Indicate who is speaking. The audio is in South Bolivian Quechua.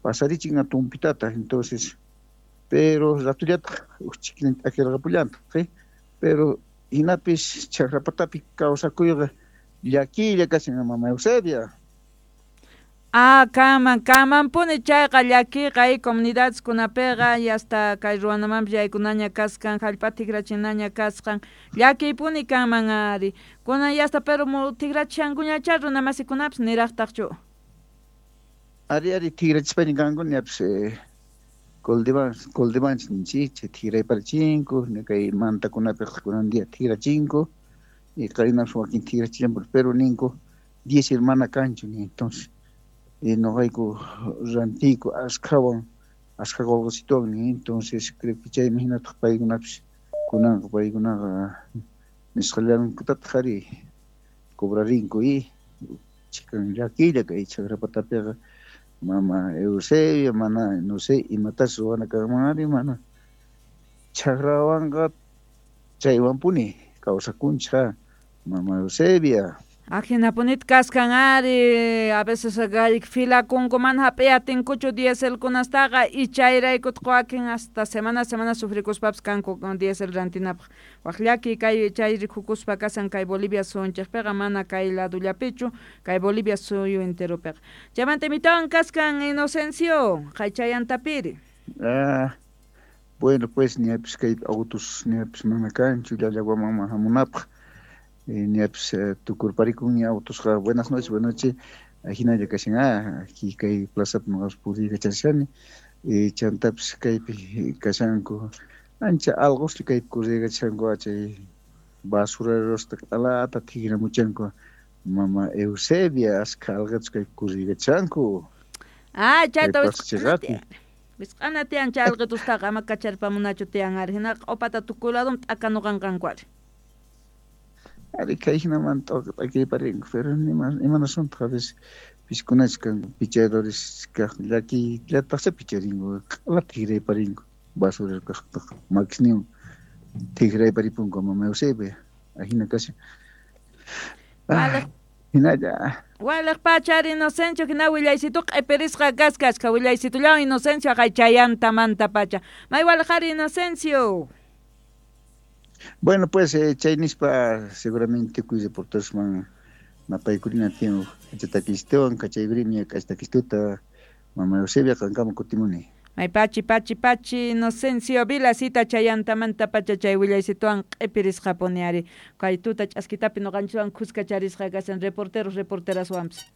Speaker 1: Pasarichin a tumpitata, entonces, pero ratullataj uj chikilin t'akirqapullantaj, pero hinapis chaqrapatapi kawsakuyqa llakiylla kashan, mama Eusebia.
Speaker 2: Ah, kanman, kanmanpuni chayqa llakiyqa comunidadeskunapiqa y hasta kay ruwanamanpis yaykunaña kasqan, hallp'a tikrachinaña kasqan, llakiypuni kanman ari. Kunan y hasta pero tikrachishankuñachá runa masikunapis niraqtaqchu.
Speaker 1: Ari, ari, tikrachispaña kanku ñapis Coldevanch ninchik, chay tikrayparachinku, kay mantakunapiqa kunan día tikrachinku, y qarinapis wakin tikrachillanpuni, pero ninku diésel mana kanchu, ni entonces noqayku rantiyku ashkhawan, ashkha qolqesituwan, ni entonces creo que chaymi hinataq paykunapis kunanqa paykunaqa nisqallankutataq ari cobrarinku y chikan llakiylla kay chakrapatapiqa mama Eusebia mana no sé imatas ruwana kanman ari mana chakrawanqa chaywanpuni kawsakunchik mama Eusebia.
Speaker 2: Ajinapunita kaskan ari, a veces filakunku mana hap'iyatinkuchu dieselkunastaqa y chayraykutaq wakin hasta semana semana sufrikuspapis kanku diésel rantinapaq. Waq llaki kay chay rikukuspa kasan kay Bolivia suyunchikpiqa mana kay ladullapichu, kay Bolivia suyu enteropiqa. Chaymanta imitawan kaskan Inocencio, qaychayantapiri.
Speaker 1: Ah, bueno pues ñapis kay autos ñapis mana kanchu llallaguamanman hamunapaq. Ñapis tukurparikun autosqa. Buenas noches, buenas noches. Ajinalla kashan, aquí kay plazapi noqapas puriykachashani. Chantapis kaypi kashanku ancha alqoslla kaypi corriykachashanku chay basurerosta q'alata tikramuchanku mama Eusebia askha alqetus kaypi corriykachashanku.
Speaker 2: Ah, chayta wisq'ana tiyan chay alqetustaqa ama kacharpamunachu tiyan ari hinaqa q'upata tukuy ladun t'akanuqanqanku ari.
Speaker 1: Ari kay hinamanta t'akayparinku, pero imanasuntaq a veces piskunachus kanku pichadores kaq llakiyllataqcha picharinku q'ala tikrayparinku basurero kaqtaqa makisninwan tikrayparipunku mama Eusebia ajina kashan. Hinalla.
Speaker 2: Waliq pacha ari Inocencio hina willaysitu q'ipirisqa kaskasqa willaysitullawan Inocencio haqay chayantamanta pacha. May waliq ari Inocencio.
Speaker 1: Bueno, pues chay nispa seguramente tukuy reporterosman napaykurina tiyan k'achatakistawan kachaykurini k'achatakistuta mama Eusebia qankama kutimuni.
Speaker 2: May pachi pachi pachi Inocencio Vilasita chayantamanta pacha chay willaysituwan q'ipirisqapuni ari kay tuta ch'askitapi noqanchikwan khuska charisqa kashan reporteros reporteraswanpis.